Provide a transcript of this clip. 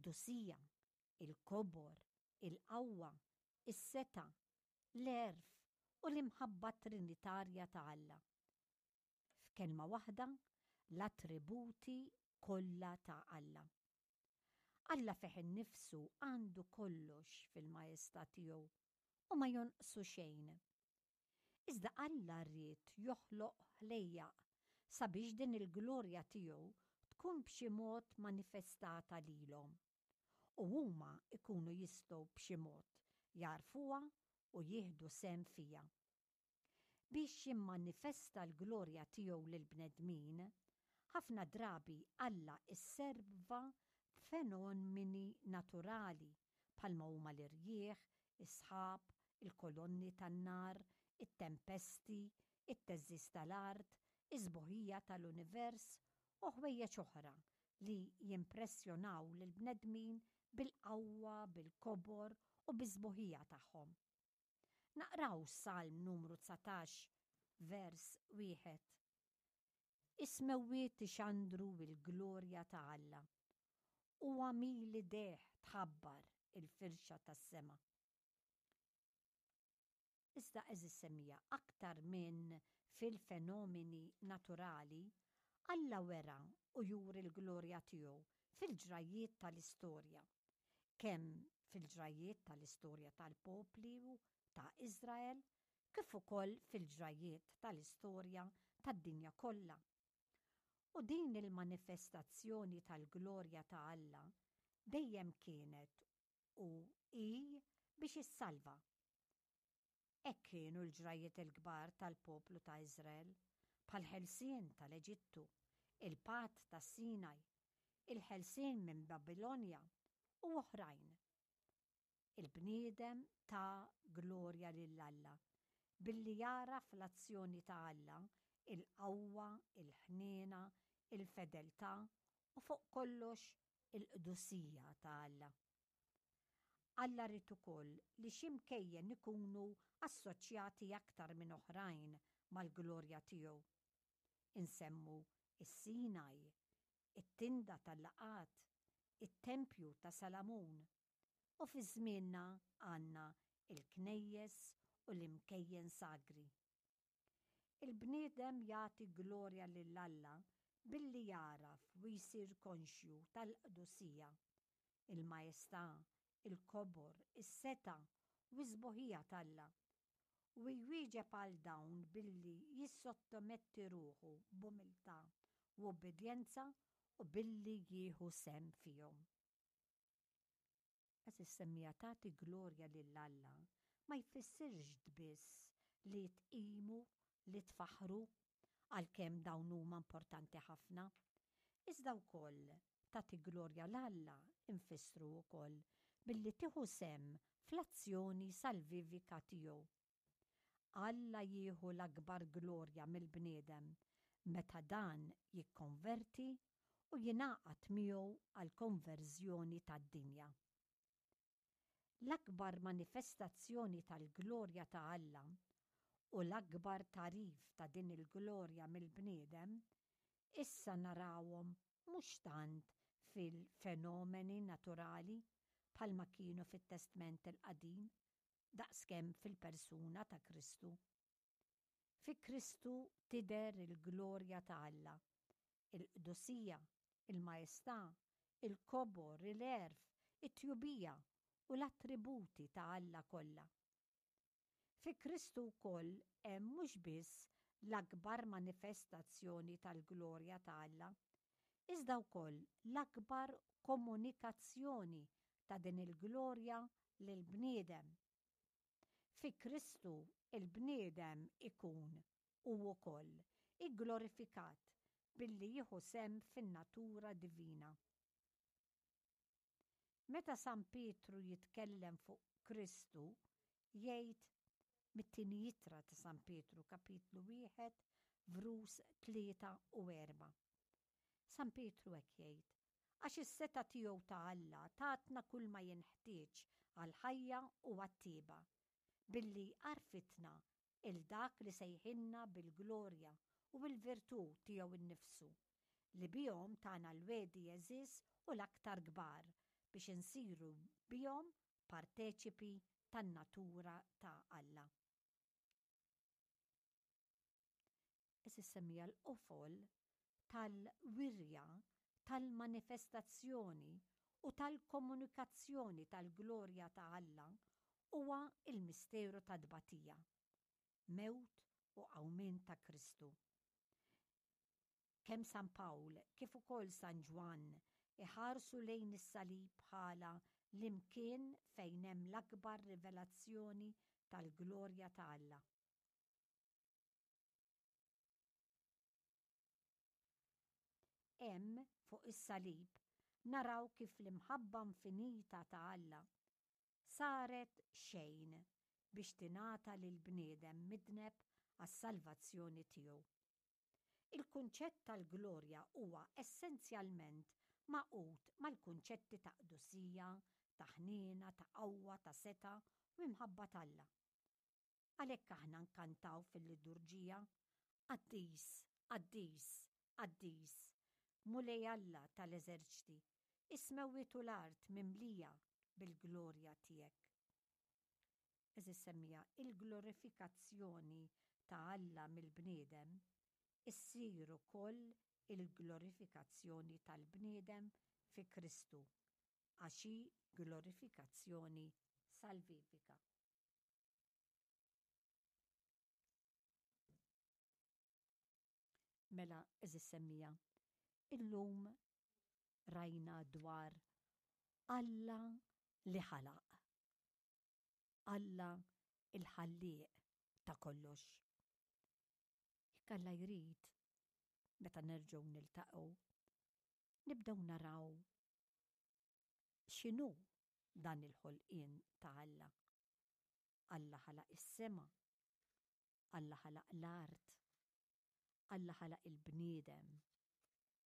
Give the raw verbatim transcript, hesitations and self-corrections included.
Il-qdusija, il-kobor, il-qawwa, is-setgħa, l-għerf u l-imħabba trinitarja ta' Alla. F'kelma waħda, l-attributi kollha ta' Alla. Alla fih innifsu għandu kollox fil-majestà tiegħu u ma jonqsu xejn. Iżda Alla ried joħloq ħlejjaq sabiex din il-glorja tiegħu tkun b'xi mod manifestata lilhom. U huma ikunu jistgħu b'xi mod jagħrfuha u jieħdu sehem fiha. Biex jimmanifesta l-glorja tiegħu lill-bnedmin, ħafna drabi Alla isserva b'fenomeni naturali bħalma huma l-irjieħ, is-sħab, il-kolonni tan-nar, it-tempesti, it-theżżiż tal-art, is-sbuħija tal-univers u ħwejjeġ oħra li jimpressjonaw lill-bnedmin bil-qawwa, bil-kobor u bis-sbuħija tagħhom. Naqraw Salm numru dsatax vers wieħed. Is-smewwiet ixandru l-glorja ta' Alla u għemil idejh tħabbar il-firxa tas-sema. Iżda, għeżież semmiegħa, aktar minn fil-fenomeni naturali, Alla wera u juri l-glorja tiegħu fil-ġrajiet tal-istorja. Kemm fil-ġrajiet tal-istorja tal-popli ta' Izrael, kif ukoll fil-ġrajiet tal-istorja tad-dinja kollha. U din il-manifestazzjoni tal-glorja ta' Alla dejjem kienet u hi biex issalva. Hekk kienu l-ġrajiet il-kbar tal-poplu ta' Izrael, bħall-ħelsien tal-Eġittu, il-patt ta' Sinaj, il-ħelsien minn Babilonja u oħrajn. Il-bniedem ta glorja lil Alla billi jara fl-azzjoni ta' Alla il-qawwa, il-ħniena, il-fedeltà u fuq kollox il-qdusija ta' Alla. Alla ried ukoll li xi mkejjen ikunu assoċjati aktar minn oħrajn mal-glorja tiegħu. Insemmu is-Sinaj, it-tinda tal-laqat, it-tempju ta' Salamun u fi żmienna għandna il-knejjes u l-imkejjen sagri. Il-bniedem jagħti glorja lil Alla billi jagħraf u jsir konxju tal-qdusija, il-majestà, il-kobor, is-setgħa u s-sbuħija t'Alla u jwieġeb għal dawn billi jissottometti ruħu b'umiltà u obbedjenza u billi jieħu sehem fihom. Għeżież semmiegħa, tagħti glorja lil Alla ma jfissirx biss li tqimu, li tfaħru, għalkemm dawn huma importanti ħafna. Iżda wkoll tagħti glorja 'l Alla nfissru wkoll billi tieħu sehem fl-azzjoni salvivika tiegħu. Alla jieħu l-akbar glorja mill-bniedem meta dan jikkonverti u jingħaqad miegħu għal konverżjoni tad-dinja. L-akbar manifestazzjoni tal-glorja ta' Alla u l-akbar tagħrif ta' din il-glorja mill-bniedem issa narawhom mhux tant fil-fenomeni naturali bħalma kienu fit-Testment il-Qadim, daqskemm fil-persuna ta' Kristu. Fi Kristu tidher il-glorja ta' Alla, il-qdusija, il-majestà, il-kobor, il-għerf, it-tjubija u l-attributi ta' Alla kollha. Fi Kristu wkoll hemm mhux biss l-akbar manifestazzjoni tal-glorja ta' Alla, iżda wkoll l-akbar komunikazzjoni ta' din il-glorja lill-bniedem. Fi Kristu il-bniedem ikun u wkoll igglorifikat billi jieħu sehem fin-natura divina. Meta San Pietru jitkellem fuq Kristu, jgħid mit-tieni ittra ta' San Pietru, kapitlu wieħed, vrus tlieta u erba'. San Pietru hekk jgħid: "Għax is-setgħa tiegħu ta' Alla tatna kull ma jinħtieġ għal-ħajja u għat-tjieba, billi għarrfitna 'l dak li sejħilna bil-glorja u bil-virtù tiegħu innifsu, li bihom tana l-wegħdi għeżież u l-aktar kbar, biex biex insiru bihom parteċipi tan-natura ta' Alla. Għeżież semmiegħa, l-qofol tal-wirja, tal-manifestazzjoni u tal-komunikazzjoni tal-glorja ta' Alla huwa l-misteru tat-tbatija, mewt u qawmien ta' Kristu. Kemm San Pawl kif ukoll San Ġwann iħarsu lejn is-salib bħala l-imkien fejn hemm l-akbar rivelazzjoni tal-glorja ta' Alla. Hemm, fuq is-salib, naraw kif l-imħabba infinita ta' Alla saret xejn biex tingħata lill-bniedem midneb għas-salvazzjoni tiegħu. Il-kunċett tal-glorja huwa essenzjalment magħqud mal-kunċetti ta' qdusija, ta' ħniena, ta' qawwa, ta' setgħa u imħabba t'Alla. Għalhekk aħna nkantaw fil-liturġija, Qaddis, qaddis, qaddis, Mulej Alla tal-eżerċti, is-smewwiet u l-art mimlija bil-glorja tiegħek. Għeżież semmiegħa, il-glorifikazzjoni ta' Alla mill-bniedem issir ukoll il-glorifikazzjoni tal-bniedem fi Kristu, għax hi glorifikazzjoni salvifika. Mela, għeżież semmiegħa, illum rajna dwar Alla li ħalaq. Alla il-ħallieq ta' kollox. Jekk Alla jrid, meta nerġgħu niltaqgħu, nibdew naraw x'inhu dan il-ħolqien ta' Alla. Alla ħalaq is-sema, Alla ħalaq l-art, Alla ħalaq il-bniedem.